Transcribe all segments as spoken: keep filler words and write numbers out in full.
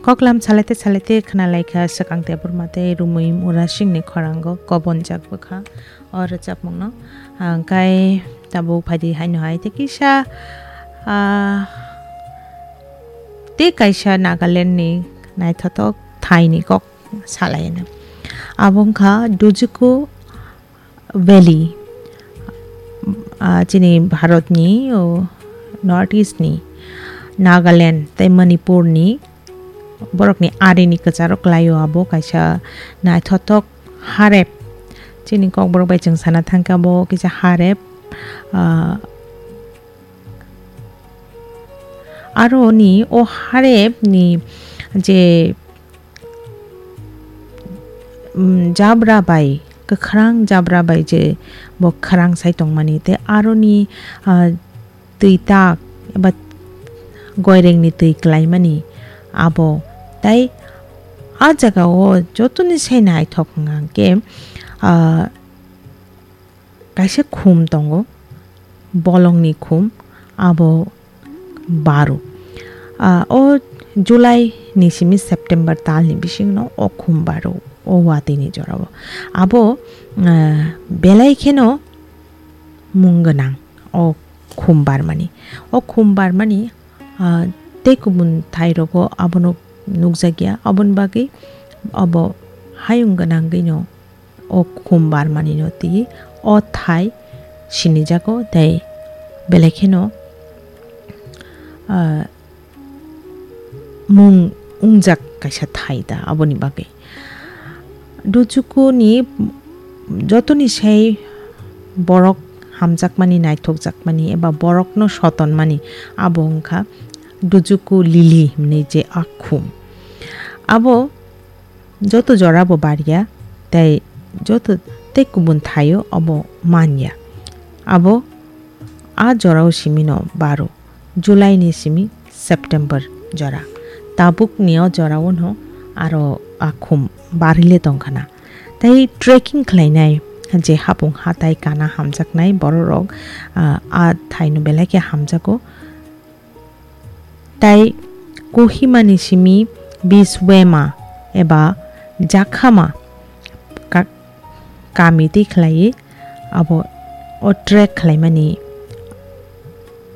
Koklam salaite salaite khna laikha swkang tei burma tei rumui mura singni khorango kobonjak bwkha o rwchapmungno. Hwnkhe tabuk phaidi haino hai tei kisa, ah, tei kaisa Nagaland ni naithothok thaini kok salaino. Abo wngkha Dujuku Valley, ah, chini Bharatni, o, North East ni Nagaland tei Manipur ni borokni arini kwcharo kwlaio. Abo kaisa naithothok harep, chini Kokborok bai chwng sana thangkha, abo kisa harep, ah, aro ni o harep ni je, mm, jabra bai, kwkhrang jabra bai je bo kwkhrang sai tongmani, tei aroni, ah, twi tak eba goirengni twi kwlaimani abo. Tei a jagao jotoni sai naithok hwnkha hwnkhe, ah, kaisa khum tongo, bolongni khum, abo baro. Ah, o July ni simi September talni bisingno o khum baro, o watwi ni jorao. Abo, ah, belai kheno mung gwnang o khum barmani. O khum barmani, ah, tei kubun thairogo abono nukjakya, aboni bagwi abo hayung gwnangwino o khum barmanino twi o thai sinijago tei belai kheno, ah, mung wngjak kaisa thai da aboni bagwi. Dujuku ni jotoni sai borok hamjakmani, naithokjakmani eba borokno sotonmani abo wngkha Dujuku lili hwnwi je a khum. Abo joto jorabo barya tei joto tei kubun thaio abo manya. Abo a jorao simino baro, July ni simi September jora. Tabuk ni o jorao no aro a khum barile tongkhana. Tei trekking khlainai je hapung hatai kana hamjaknai bororok, ah, a thaino belai khe hamjago. Tai Kohimani simi Biswema eba Jakhama ka-, kami twi khlaiwi abo o trek khlaimani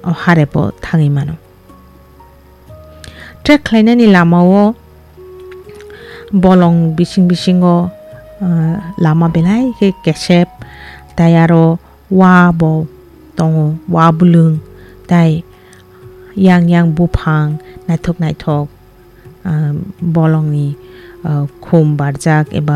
o harebo thangwi mano. Trek khlainani lamao bolong bising bisingo, ah, lama belai khe kesep, tai aro wa bo tongo, wa bwlwng, tai yang yang buphang naithok naithok, ah, bolongni, ah, khum barjak eba